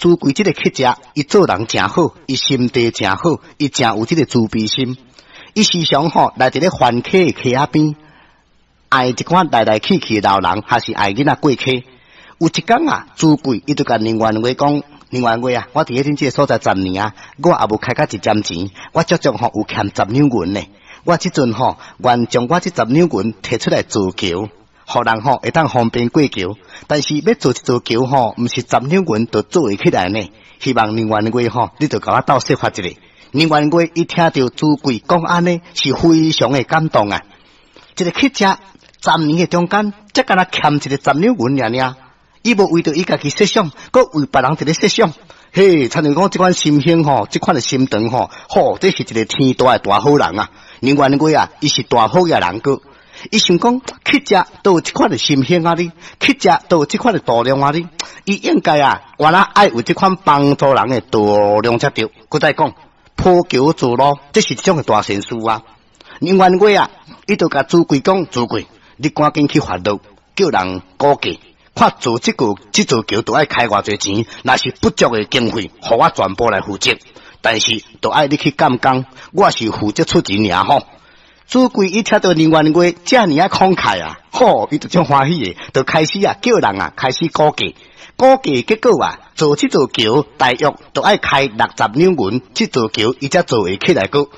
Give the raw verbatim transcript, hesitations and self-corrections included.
朱貴這个乞食，伊做人誠好，伊心地誠好，伊誠有這个慈悲心。伊時常吼來佇咧番溪的溪仔邊，愛一寡來來去去的老人，還是愛囡仔過溪。有一工啊，朱貴伊就共寧願月講：寧願月啊，我佇咧恁這个所在十年啊，我也無開甲一針錢，我足足吼有欠十兩銀呢。我這陣吼願將我這十兩銀提出來造橋，予人吼會當方便過橋。但是欲造一座橋吼，毋是十兩銀就做會起來呢。希望寧願月吼，你就共我鬥說法一下。寧願月伊聽著朱貴講按呢，是非常的感動啊！一个乞食十年的中間，才敢若欠一个十兩銀爾爾，伊無為著伊家己設想，閣為別人佇咧設想。嘿，親像講這款心胸吼，這款的心腸吼，吼，這是一个天大的大好人啊！寧願月啊，伊是大好額人閣，伊想講乞食都有這款的心胸啊哩，乞食都有這款的度量啊哩，伊應該啊，原來愛有這款幫助人的度量才對。閣再講，鋪橋造路，這是一種的大善事啊！寧願月啊，伊就共朱貴講：朱貴，你趕緊去發落，叫人估價，看做這個這座橋都愛開偌濟錢，若是不足的經費，予我全部來負責。但是都愛你去監工，我是負責出錢爾吼。朱貴伊聽著寧願月遮爾仔慷慨啊，吼，伊就足歡喜的，就開始啊叫人啊開始估價。估計結果啊，做這座橋大約都愛開六十兩銀，這座橋伊才做會起來閣。